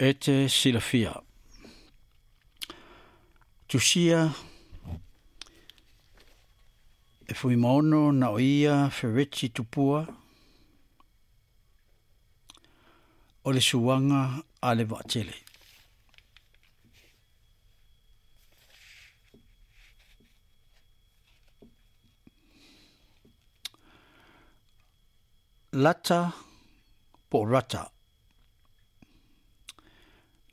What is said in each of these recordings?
E te silafia. Tusia e Fuimaono na o ia Fereti Tupua o le suaga a le Vaatele. Lata po o Rata.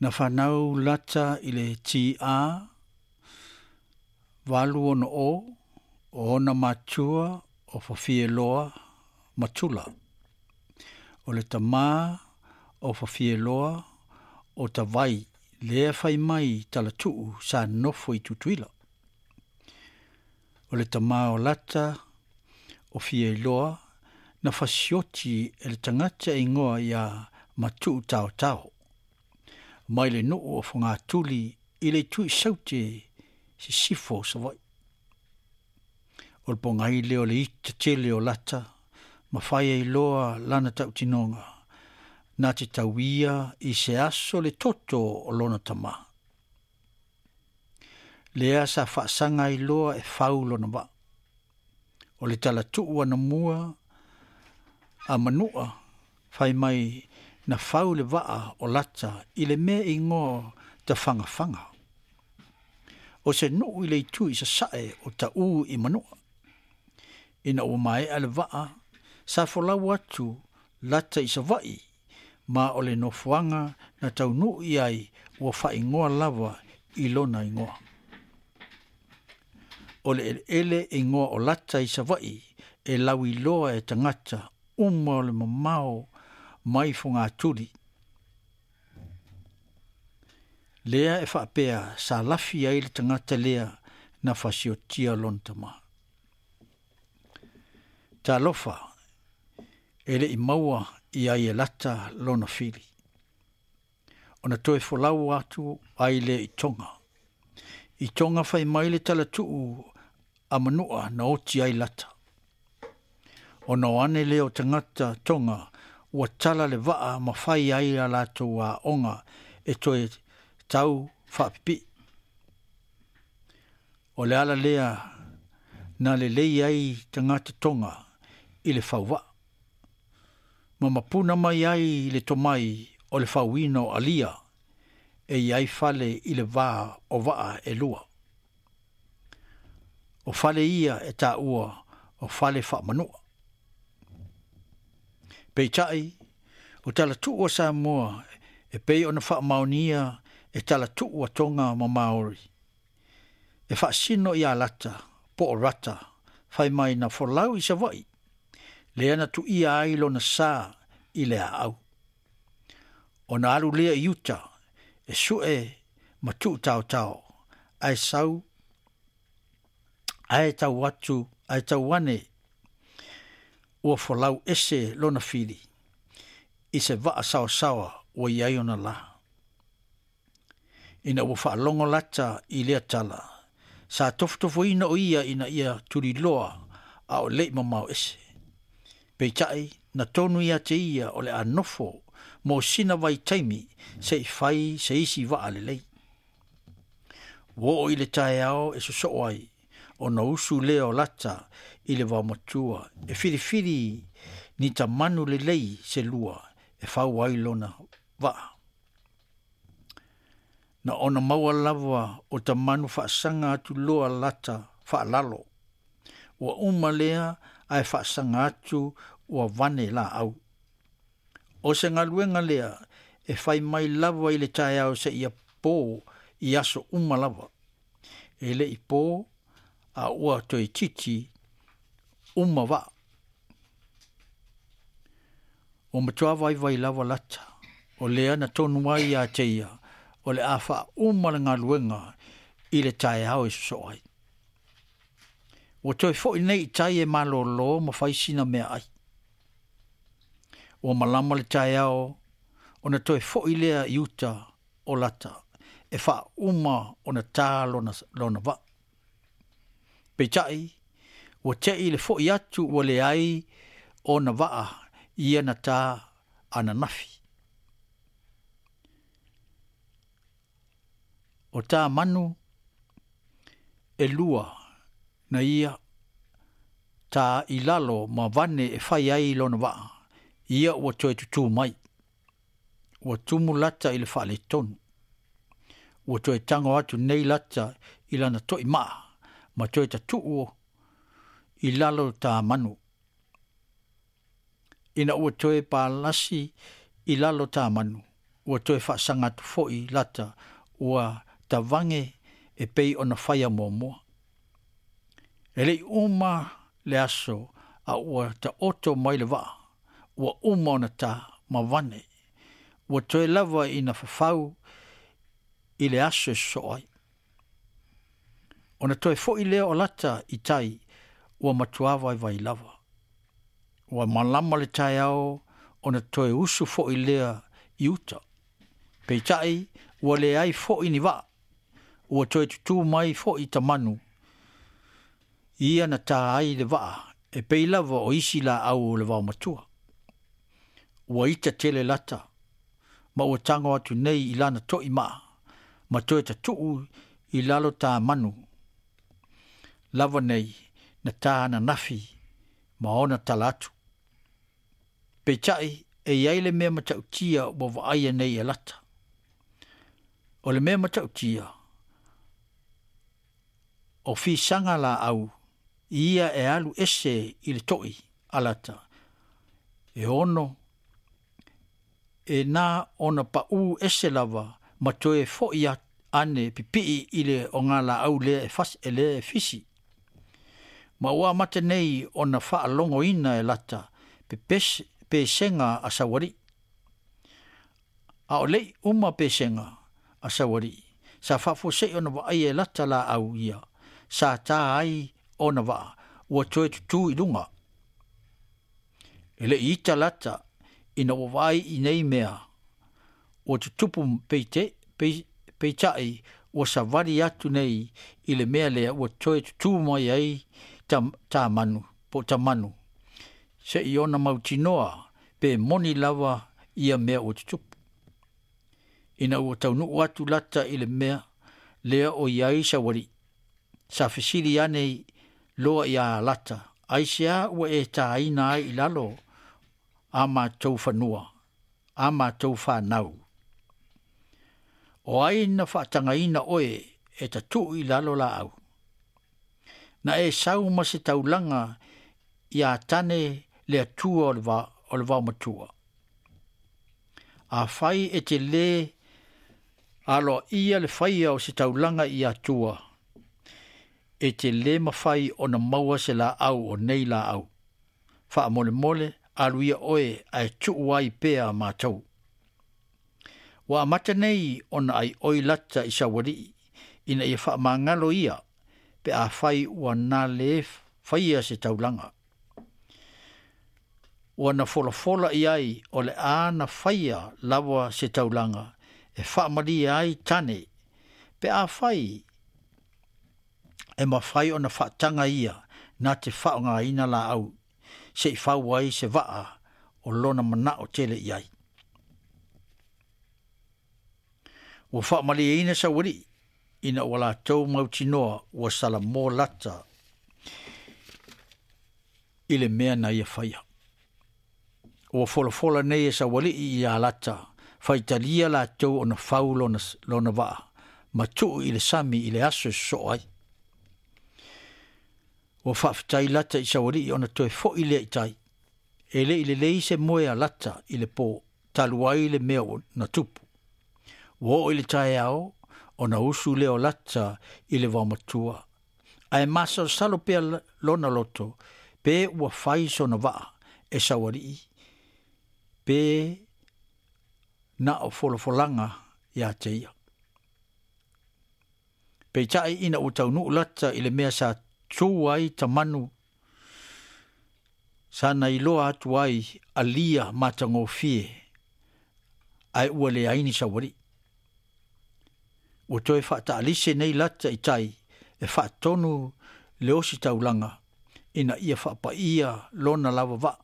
Na fanau Lata i le TA 860 o ona matua o Fafieloa ma Tula. O le tamā o Fafieloa o Tavai lea fai mai Talatuu sa nofo i Tutuila. O le tamā o Lata o Fieloa na fasioti e le tagata e igoa iā Matuu Taotao mai le nuu o Fogatuli i le itu i Saute sisifo o Savaii. O le pogai lea o le ita tele o Lata ma fai ai loa lana tautinoga na te tauia i se aso le toto o lona tamā. Lea sa faasaga ai loa e fau lona vaa. O le talatuu anamua a Manua fai mai na fau le vaa o Lata i le mea e igoa Tafagafaga. O se nuu i le itu i sasae o Taʻu i Manua. Ina ua maea le vaa, sa folau atu Lata i Savaii ma o le nofoaga na taunuu i ai ua faaigoa lava i lona igoa. O le eleele e igoa o Lata i Savaii e lauiloa e tagata uma o le mamao mai Fogatuli. Lea e faapea sa lafi ai le tagata lea na fasiotia lona tamā. Talofa, e le i maua i ai e Lata lona fili. Ona toe folau atu ai lea i Tonga. I Tonga fai mai le talatuu a Manua na oti ai Lata. Ona o ane lea o tagata Tonga ua tala le vaa ma fai ai a latou aoga e toe tau faapipii. O le ala lea na lelei ai tagata Tonga i le fauvaa. Ma mapuna mai ai le tomai o le fauina o alia e i ai fale i le va o vaa e lua. O fale ia e taua o fale faamanua. Peitai, o talatuu a Samoa e pei ona faamaonia e talatuu a Tonga ma Maori. E faasino ia Lata po o Rata fai mai na folau i Savaii, lea na tuia ai lona sa i le aau. Ona alu lea i uta e sue ma tuu taotao, ae sau ae tau atu ae tau ane ua folau ese lona fili i se vaa saosaoa ua i ai ona lā. Ina ua faalogo Lata i lea tala, sa tofotofoina o ia ina ia tuliloa a o le i mamao ese. Peitai, na tonu ia te ia o le a nofo mo sina vaitaimi se i fai se isi vaa lelei. Ua oo i le taeao e sosoo ai, ona usu lea o Lata i le vaomatua e filifili ni tamanu lelei se lua e fau ai lona vaa. Na ona maua lava o tamanu faasaga atu loa Lata faalalo. Ua uma lea ae faasaga atu ua vane laau. O se galuega lea e fai mai lava i le taeao seia po i aso uma lava. E le i po a ua toeitiiti uma vaa. Ua matua vaivai lava Lata, o lea na tonu ai ia te ia o le a faauma le galuega i le taeao e sosoo ai. Ua toe foi nei i tai e malolo ma fai sina meaai. Ua malama le taeao ona toe foi lea i uta o Lata e faauma ona tā lona, lona vaa. Peitai, ua te'i le fo'i atu ua leai ona vaa ia na tā ananafi. O tamanu elua na ia tā i lalo ma vane e fai ai lona vaa, ia ua toe tutū mai. Ua tumu Lata i le faaletonu. Ua toe tago atu nei Lata i lana toi maa ma toe tatuu i lalo tamanu. Ina ua toe palasi i lalo tamanu, ua toe faasaga atu foi Lata ua tavage e pei ona faia muamua. E le i uma le aso a ua taoto mai le vaa, ua uma ona ta ma vane, ua toe lava ina fafau i le aso e sosoo ai. Ona toe foi lea o Lata i tai, ua matua vaivai lava. Ua malama le taeao ona toe usu foi lea i uta. Peitai, ua leai foi ni vaa, ua toe tutū mai foi tamanu, ia na tā ai le vaa e pei lava o isi laau o le vaomatua. Ua ita tele Lata, ma ua tago atu nei i lana toi maa, ma toe tatuu i lalo tamanu lava nei na tā ananafi ma ona tala atu. Peitai, e i ai le mea matautia ua vaaia nei e Lata. O le mea matautia, o fisaga laau ia e alu ese i le toi a Lata, e ono e na ona paū ese lava ma toe foi ane pipii i le ogalaau lea e, fas, e lea e fisi. Ma ua amata nei ona faalogoina e Lata pepese, pesega a Saualii. A o lei uma pesega a Saualii, sa faafuasei ona vaaia e Lata laau ia, sa tā ai ona vaa, ua toe tutū i luga. E le i ita Lata ina ua vaai i nei mea, ua tutupu peite, peitai ua savali atu nei i le mea lea ua toe tutū mai ai tamanu, po tamanu, seia ona mautinoa pe moni lava ia mea ua tutupu. Ina ua taunuu atu Lata i le mea lea o i ai Saualii, sa fesili ane loa iā Lata, aisea ua e tāina ai i lalo a matou fanua, a matou fanau? O ai na faatagaina oe e tatuu i lalo laau? Na e sau ma se taulaga iā Tane le Atua o le vaomatua. Afai e te lē aloaia le faia o se taulaga i Atua, e te lē mafai ona maua se laau o nei laau. Faamolemole alu ia oe ae tuu ai pea matou. Ua amata nei ona aioi Lata i Saualii, ina ia faamagalo ia pe afai ua na lē faia se taulaga. Ua na folafola i ai o le a na faia lava se taulaga e faamalie ai Tane, pe afai e mafai ona faataga ia na te faaaogaina laau se i fau ai se vaa o lona manao tele i ai. Ua faamalieina Saualii ina ua latou mautinoa ua salamo Lata i le mea na ia faia. Ua folafola nei e Saualii iā Lata, faitalia latou ona fau lona, lona vaa, ma tuu i le sami i le aso e sosoo ai. Ua faafetai Lata i Saualii ona toe foi lea i tai. E le i lelei se moe a Lata i le pō, talu ai le mea na tupu. Ua oo i le taeao ona usu lea o Lata i le vaomatua, ae masalosalo pea lona loto pe ua fai sona vaa e Saualii pe na o folafolaga ia te ia. Peitai ina ua taunuu Lata i le mea sa tu ai tamanu, sa na iloa atu ai alia matagofie, ae ua leai ni Saualii. Ua toe faataalise nei Lata i tai e faatonu le ositaulaga ina ia faapaia lona lava vaa.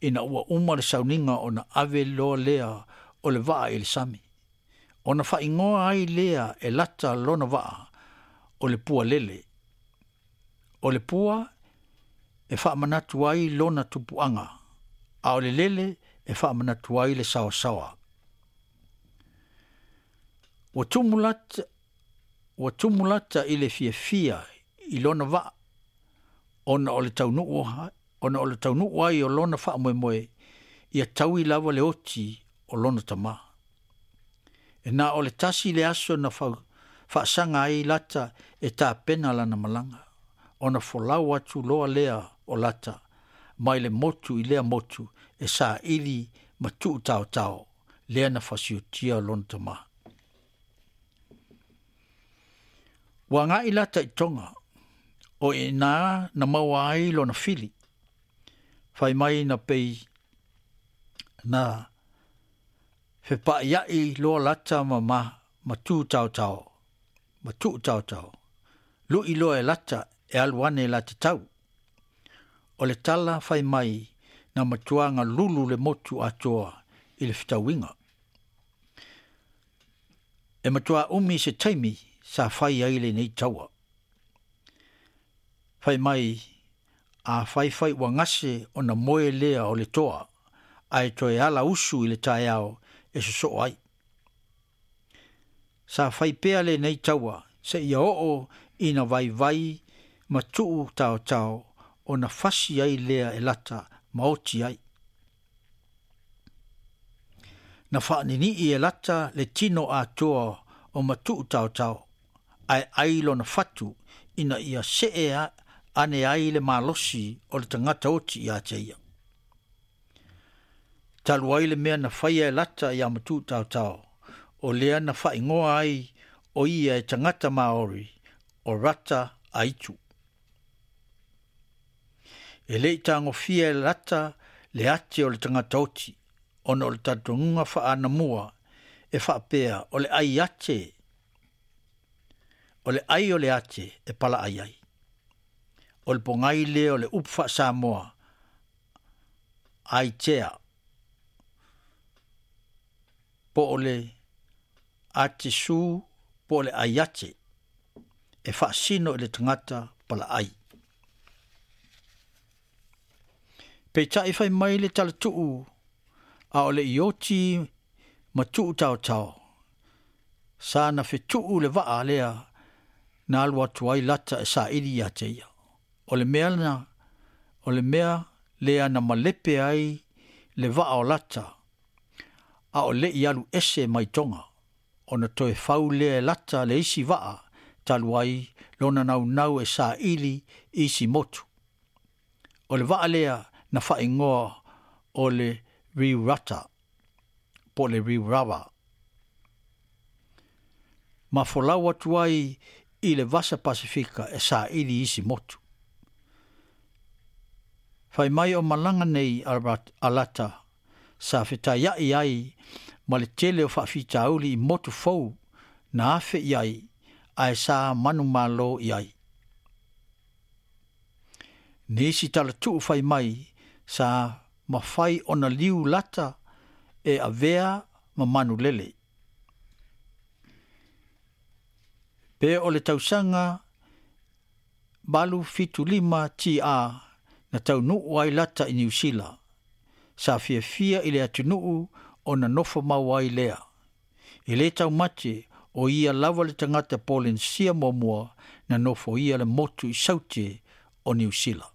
Ina ua uma le sauniga ona ave loa lea o le vaa i le sami. Ona faaigoa ai lea e Lata lona vaa o le Pua Lele. O le pua e faamanatu ai lona tupuaga, a o le lele e faamanatu ai le saosaoa. Ua tumu Lata, ua tumu Lata i le fiafia i lona vaa ona o le taunuu ona o le taunuu ai o lona faamoemoe ia taui lava le oti o lona tama. E na o le tasi le aso na faasaga ai Lata e tapena lana malaga, ona folau atu loa lea o Lata mai le motu i lea motu e saili ma tuutaotao lea na fasiotia lona tama. Ua agai Lata i Toga, o i ina na maua ai lona fili. Fai mai na pei na fepaaiai loa Lata ma ma ma tutaotao, ma tuutaotao. Lui loa e Lata e alu ane la te tau. O le tala fai mai na matua galulu le motu atoa i le fetauiga. E matua umi se taimi sa fai ai lenei taua. Fai mai a faifai ua gase ona moe lea o le toa, ae toe ala usu i le taeao e sosoo ai. Sa fai pea lenei taua seia oo ina vaivai ma tuu taotao ona fasi ai lea e Lata ma oti ai. Na faaninii e Lata le tino atoa o Matuutaotao, ae ai lona fatu ina ia see ane ai le malosi o le tagata oti ia te ia. Talu ai le mea na faia e Lata ia Matuutaotao, o lea na faaigoa ai o ia e tagata Maori o Rata Aitu. E le i tagofia e Lata le ate o le tagata oti, ona o le talitonuga faaanamua e faapea o le ai ate, o le ai o le ate e palaai ai. O le pogai lea o le upu faa-Samoa, aitea, po o le atesu po o le aiate, e faasino i le tagata palaai. Peitai fai mai le talatuu a o le i oti ma tuutaotao, sa na fetuu le vaa lea na alu atu ai Lata e saili ia te ia. O le mea na, o le mea lea na malepe ai le vaa o Lata, a o le i alu ese mai Toga, ona toe fau lea e Lata le isi vaa talu ai lona naunau e saili i isi motu. O le vaa lea na faaigoa o le Riurata po o le Riurava, ma folau atu ai i le Vasa Pasifika e saili i isi motu. Fai mai o malaga nei a Lata sa fetaiai ai ma le tele o faafitauli i motu fou na afe i ai ae sa manumalo i ai. Nisi talatuu fai mai sa mafai ona liu Lata e avea ma manulele. Pe o le tausaga 875 TA na taunuu ai Lata i Niu Sila, sa fiafia i le atunuu ona nofo mau ai lea. E le taumate o ia lava le tagata Polenisia muamua na nofoia le motu i Saute o Niu Sila.